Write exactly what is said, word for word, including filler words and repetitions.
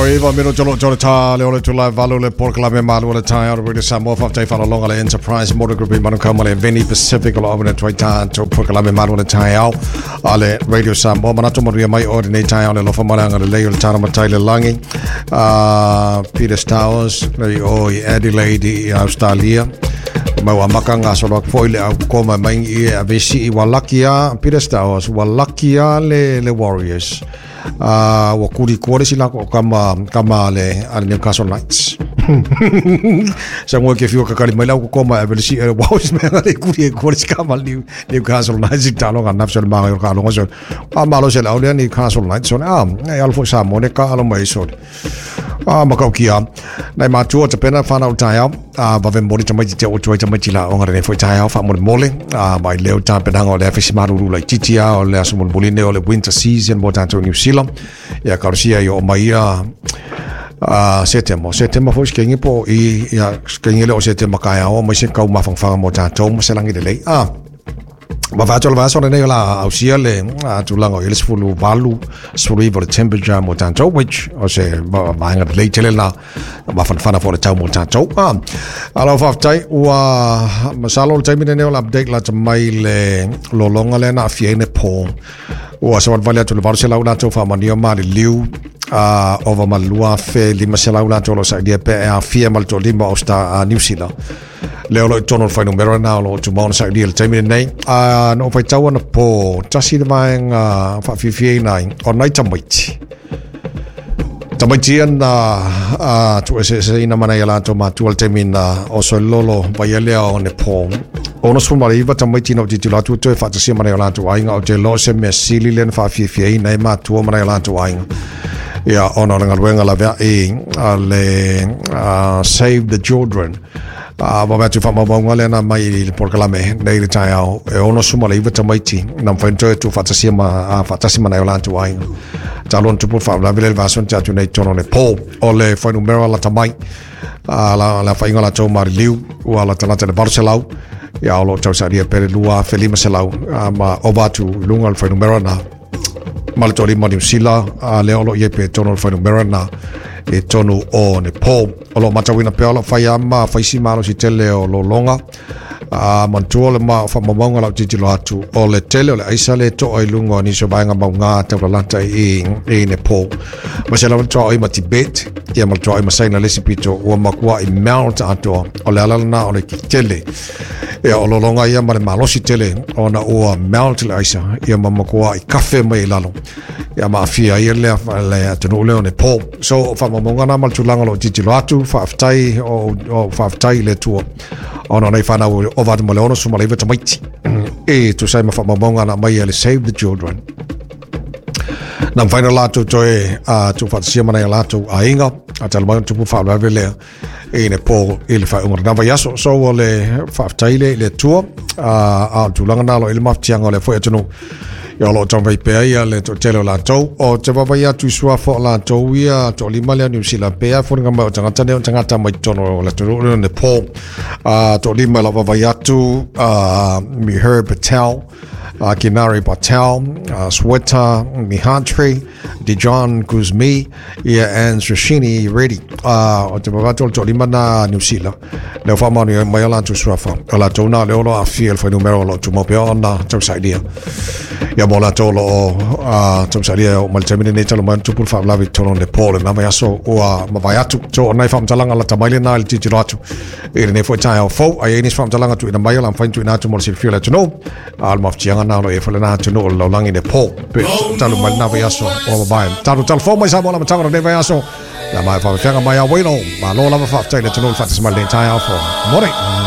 Toiva mino tolo tolo ta le ole tula valu le polokalame malu le tai au le Samoa whaftai whalalonga le Enterprise Motor Group i Manukau le Veni Pacific o lo awina tuai tātou polokalame malu le tai au a le Radio Samoa manatu maruia mai o nei tai au le lofa maranga le lei o le tana matai le langi uh, Peter Stowers le o i Adelaide i Australia mau amaka ngā solo foi le au koma mai i a vesi i walakia Peter Stowers walakia le le Warriors. Uh, wa kuri kore si lako kama kama le ale Newcastle Knights. Sa ngoi ke fiu kakari mai lau koma e veli e Warriors me ngare kuri kore si kama New Newcastle Knights i talo nga nafso ma ngai ka longo so. A malo se lau le Newcastle Knights so a e alfo sa mo ne ka alo mai so. A makau kia nai matua te pena whanau tai au a vave mori tamai te o tuai tamai la o ngare foi tai au fa mo mole a mai leo ta penanga o le afisi maruru lai titia o le aso mo ne o le winter season mo tanto New Zealand ia kausia i o mai a a setemo setemo foi skengi po i ia skengi le o setemo kai au mai se kau mafangfanga mo tanto mo se langi le lei a ma vato la vaso nei la ausia le a tulanga ele sfulu valu sfulu ivo le temperature mo tanto which o se vaenga le tele la ma fan fana for le tau mo tanto a ala fa tai ua masalo le taimi nei la update la mai le lolonga le na fiene po ua sa vale atu le valu se lau la to fa mania ma le liu a ova malua fe lima se lau la to lo sa dia pe a fia mal to lima o sta New Zealand le olo tono whai numero na olo tu mauna sa le taimi nei a no whai tau ana po tasi le vaenga whawhiwhi nai o nai tamaiti tamaiti ana a tu ese ese ina mana ia lato matua le taimi na o so lolo vai alea o ne po ono sumara iwa tamaiti na o titilo atu toe whaatasia mana ia lato ainga o te lo se mea sili le na whawhiwhi nei matua mana ia lato ainga ia ona o le ngaluenga lavea i a le Save the Children a wa atu fa maunga le na mai i le polokalame nei le tai au e ono suma le iwa tamaiti na mwhaintoe tu whatasia ma whatasi mana o lantu ainga talon tupu wha la vile vason te atu nei tono le po o le whainumera la tamai a la la whainga la tau mari liu ua la talata le varu ia o lo tau saria pere lua felima selau ma ova atu lunga le whainumera na malatori ma New Zealand a le olo ie pe tono le whainumera na e tonu o ne po o lo matawina pe olo whai ama whaisi malo si tele o lolonga a mantua le ma whamamaunga lau titilo atu o le tele o le aisa le toa i lunga o niso vaenga maunga taulalata i, i ne po ma se lawa toa o i ma Tibet ia ma toa i ma saina lesi pito ua makua i mount atoa o le alalana o le ki tele ia o lolonga ia ma le malosi tele o na ua mount le aisa ia ma makua i kafe mai i lalo ia ma afia ia lea le atunu leo ne po so whamamaunga na ma le tulaga lo titilo atu whaaftai o, o whaaftai le tua ona nei whanau o vatu mo le ono suma le iwa tamaiti e tu sai ma whamamaunga na mai le Save the Children na mwhaina lātou toe a tu whatasia mana ia lātou a inga a tala mai tupu whaalawe lea e ne po i le whaunga na vai aso so o le whaaftai le le tua a a tulaga nalo i le mafutianga o le foi atunu ia lo tau vai pea ia le to tele o lātou o te wawai atu sua fo lātou ia to lima lea New Zealand pea fo nga mai o tangata ne o tangata mai tono o le tunu ne po a to lima la wawai atu a Mihir Patel uh, Kinari Patel, uh, Sweta Mihantri, Dijon Guzmi, ia and Sashini Reddy. Uh, o te wawatu o le tolima na New Zealand. Leo whamanu mai o lātou suafa. O lātou nā leo lo a fia le whainumero o lo tumau pea o nā tausailia. Ia mo lātou lo o uh, tausailia o mai le taimine nei talo mai tupul whaalawi tono le pō le nama aso ua mawai atu. So o nai whamtalanga la tamaile nā le titiro atu. I le nei foi tai au fau. Ai enis whamtalanga tu ina mai o la mwhain tu ina atu mo le silfio le atu no. A le mafutianga nā lo e whale nā atu no o le laulangi ne pō. Pe talu mai nā vai aso o mabai. Talu talu fō mai sa mo la matanga nei vai aso. La mai whawhianga mai a wino. Ma lo lava whaftai le tunu whatasima le tai au fō. More.